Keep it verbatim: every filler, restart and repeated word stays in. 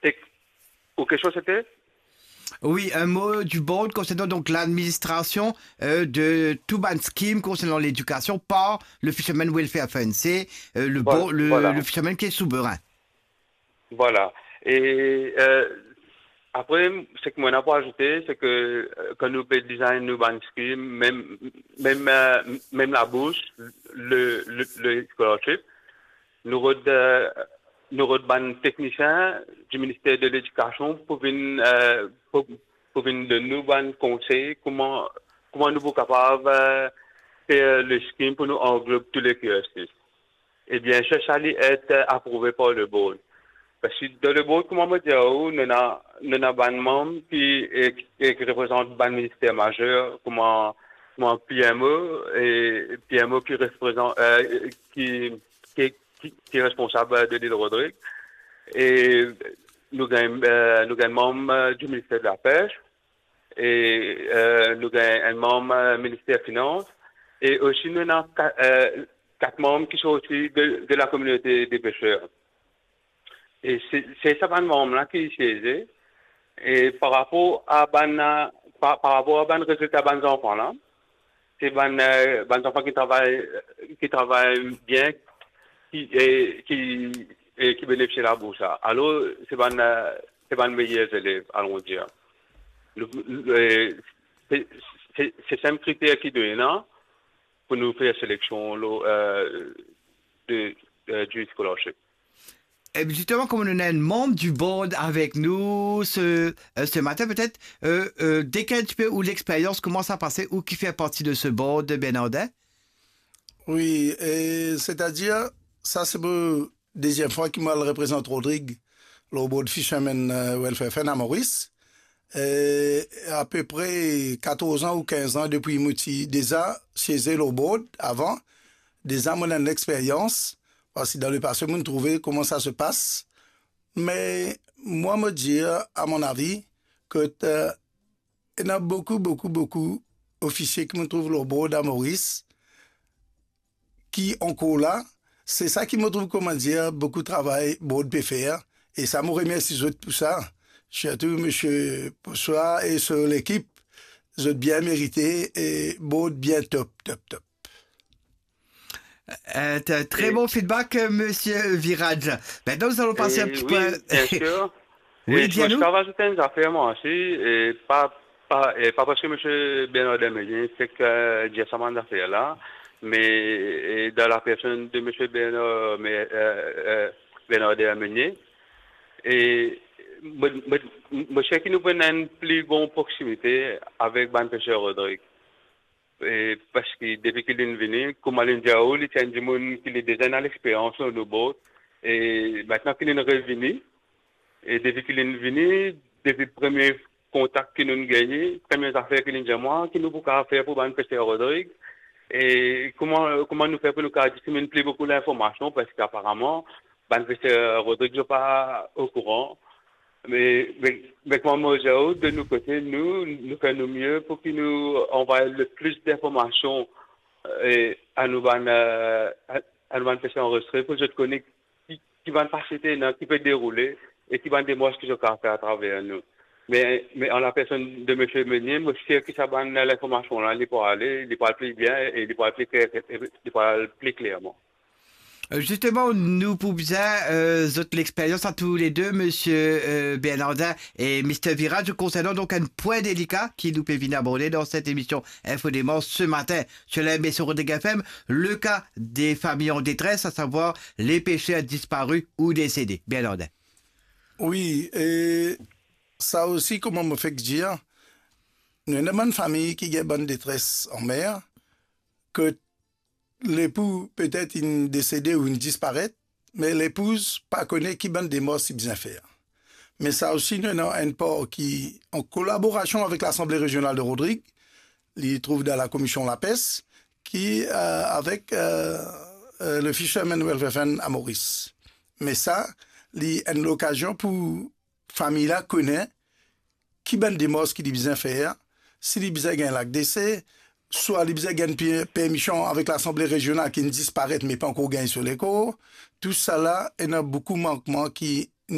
Tek, ou kestion sete? Oui, un mot du board concernant donc l'administration euh, de tout bann scheme concernant l'éducation par le Fisherman Welfare Fund. C'est euh, le, voilà, bo- le, voilà. Le fisherman qui est souverain. Voilà. E euh, apre, seki mo ena pou azoute, se ke euh, kan nou pe design nou bann scheme, mem mem euh, mem labours, le, le, le scholarship, nou rod euh, nou rod bann teknisien du ministère de l'Éducation pou vinn euh, pou, pou vinn donn nou bann konsey kouma kouma nou pou kapav euh, fer le scheme pou nou anglob tou le cursus. Ebien, sa, sa li et euh, aprouve par le board. Parski dan le board, kouma mo dir ou, nou ena nou ena bann manm ki e, e ki reprezant bann minister mazer, kouma kouma P M O, e P M O ki reprezant euh, ki ki, ki, ki responsab de l'île Rodrig. E nou gagn euh, nou gagn manm euh, du ministère de la pêche, e euh, nou gagn enn manm euh, ministère finans, e osi nou ena ka- euh, kat manm ki sorti de, de la communauté des pêcheurs. E se se sa bann manm la ki sieze. E par rapor a bann par, par rapor a bann rezilta bann zanfan la, se bann euh, bann zanfan ki travay ki travay bien, ki e, ki e, ki benefisie labours la. Alor se bann euh, se bann meyer zelev, alon dir. Nou, nou, e, se se- se senp kriter ki nou ena pou nou fer seleksion lo euh, de euh, du scholarship. Et justement, comme on a un membre du board avec nous ce, euh, ce matin, peut-être euh, euh, décris un petit peu ou l'expérience, comment ça a passé, ou qui fait partie de ce board, Bernardin? Wi, e setadir, sa se pou deziem fwa ki mo al reprezant Rodrig lor board Fishermen euh, Welfare Fund a Moris. E apepre katorz an ou kinz an depi mo ti deza sieze lor board avan, deza mo ena enn lexperyans, parski dan lepase mo'nn trouve kouma sa se pas. Me mwa mo dir, a mon avi, ke euh, ena boukou, boukou, boukou ofisie ki mo trouv lor board a Moris, ki ankor la. Se sa ki mo trouv, kouma dir, boukou travay board pe fer. E sa mo remersi zot pou sa. Sirtou misie Poswa e so lekip, zot bien merite e board bien top, top, top. Un t- très bon feedback, euh, monsieur Viraj. Maintenant, nous allons passer un E petit wi, peu. Bien sûr. Oui, E dis-nous. Mo ti kav azout enn zafer mwa osi, e pa pa e pa parski misie Bernard Dermenier fek euh, dir sa bann zafer la, me e, dan la personn de misie Bernard, me, euh, euh, Bernard Dermenier, e mo mo mo sir ki nou pou ena enn pli bon proksimite avek bann peser Rodrig. E parski depi ki linn vini, kouma linn dir ou, li ti enn dimoun ki li deza ena lexperyans lor nou board. E mintnan ki linn revini, e depi ki linn vini, depi premie kontak ki nou'nn gagne, premie zafer ki linn dir mwa, ki nou pou kav fer pou bann peser Rodrig, e kouma kouma nou fer pou nou kav distribie pli boukou linformasion, parski aparaman bann peser Rodrig zot pa okouran. Me me me kouma mo dir ou, de nou kote, nou nou fer nou mie pou ki nou anvway le plis dinformasion e, a nou bann euh, a, a nou bann peser anrezistre, pou zot kone ki, ki bann fasilite ena, ki pe deroule, e ki bann demars ki zot kav fer atraver nou. Me me an la personn de misie Meunier, mo sir ki sa bann linformasion la, li pou ale, li pou al pli bien e li pou al pli kler, e li pou al pli klerman. Euh, Justement, nou pou bizin euh, zot lexperyans a tou le de, monsieur euh, Bernardin et mister Viraj, concernant donc un point délicat ki nou pe vinn aborde dans cette émission Info Démence ce matin sur la M B C Rodrigue F M, le cas des familles en détresse, à savoir les pêcheurs disparus ou décédés. Bernardin. Wi, e sa osi, kouma mo fek dir, nou ena bann fami ki gagn bann detres an mer, ke lepou petet inn desede ou inn disparet, me lepouz pa kone ki bann demars li bizin fer. Me sa osi, nou ena enn par ki, an kolaborasion avek Lasanble Rezional de Rodrig, li trouv dan Lakomision Lapes, ki euh, avek euh, euh, le Fisherman Welfare Fund a Moris. Me sa, li enn lokazion pou fami la kone ki bann demars ki li bizin fer, si li bizin gagn lak dese, swa li bizin gagn pi- permision avek Lasanble Rezional ki inn disparet me pa ankor gagn so lekor. Tousala, ena boukou mankman ki